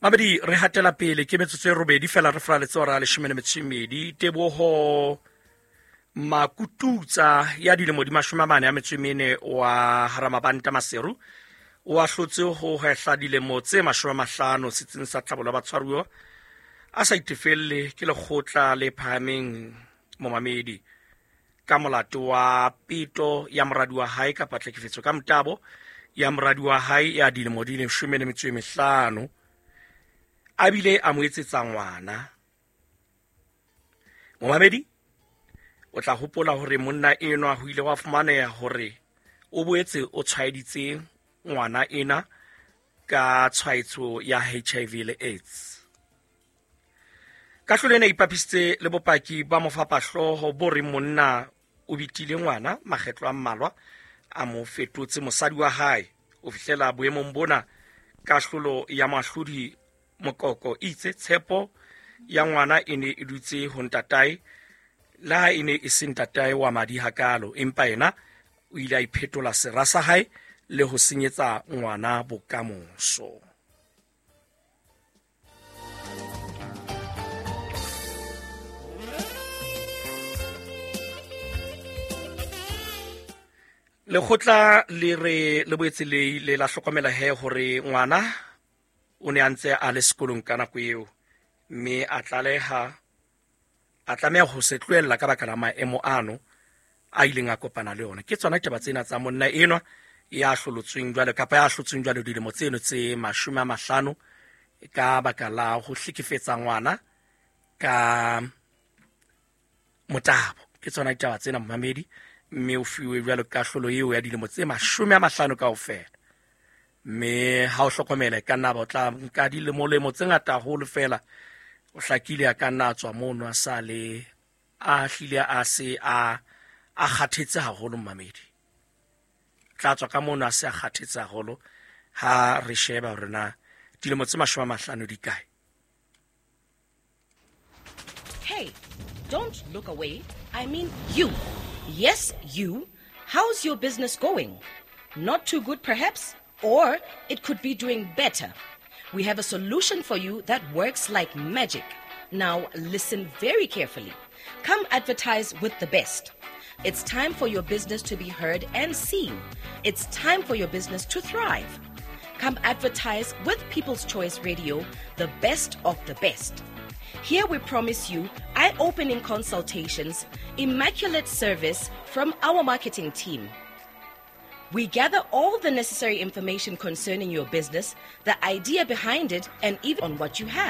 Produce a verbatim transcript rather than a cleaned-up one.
Mamedi, re hatela pele ke metsotso e robedi fela re fraletse hora ya leshome le metso e mmedi. Teboho Makututsa ya dilemo di mashome a mane a metso e mene wa Haramabanta Maseru o ahlotse ho hwehla dilemo tse mashome a mahlano setsing sa tlhabollo ya batshwaruwa a sa itefelle ke lekgotla le phahameng momamedi ka molato wa peto ya moradi wa hae kapa tlhekefetso ka motabo ya moradi wa hae ya dilemo di leshome le metso e mehlano a bile a mo etsetsa ngwana. Momamedi, o tla hopola hore monna enwa ho ile wa fumaneha hore o boetse o tshwaeditse ngwana ena ka tshwaetso ya H I V le AIDS. Kahlolo ena e ipapisitse le bopaki ba mofapahlooho bo reng monna o bitile ngwana makgetlo a mmalwa a mo fetotse mosadi wa hae. O fihlela boemong bona kahlolo ya moahlodi Mokoko itse tshepo ya ngwana e ne e dutse ho ntatae, le ha e ne e se ntatae wa madi hakalo, empa yena o ile a iphetola sera sa hae le ho senyetsa ngwana bokamoso. Lekgotla le re le boetse le ile la hlokomela he hore ngwana o ne a ntse a le sekolong ka nako eo, mme a tlaleha a tlameha ho se tlohella ka baka la maemo ano a ileng a kopana le ona. Ke tsona ditaba tsena tsa monna enwa ya hlolotsweng jwale kapa ya hlotsweng jwale dilemo tseno tse mashome a mahlano ka baka la ho hlekefetsa ngwana ka motabo. Ke tsona ditaba tsena momamedi, mme o fiwe jwalo kahlolo eo ya dilemo tse mashome a mahlano kaofela. Mme ha o hlokomela ka nna ba o tla nka dilemolemo tse ngata haholo fela, o hlakile a ka nna a tswa mono a sa le a hlile a se a a kgathetse haholo momamedi. Tla tswa ka mono a se a kgathetse haholo ha re sheba hore na dilemo tse mashome a mahlano di kae. Hey, don't look away. I mean you. Yes, you. How's your business going? Not too good perhaps? Or it could be doing better. We have a solution for you that works like magic. Now listen very carefully. Come advertise with the best. It's time for your business to be heard and seen. It's time for your business to thrive. Come advertise with People's Choice Radio, the best of the best. Here we promise you eye-opening consultations, immaculate service from our marketing team. We gather all the necessary information concerning your business, the idea behind it, and even on what you have.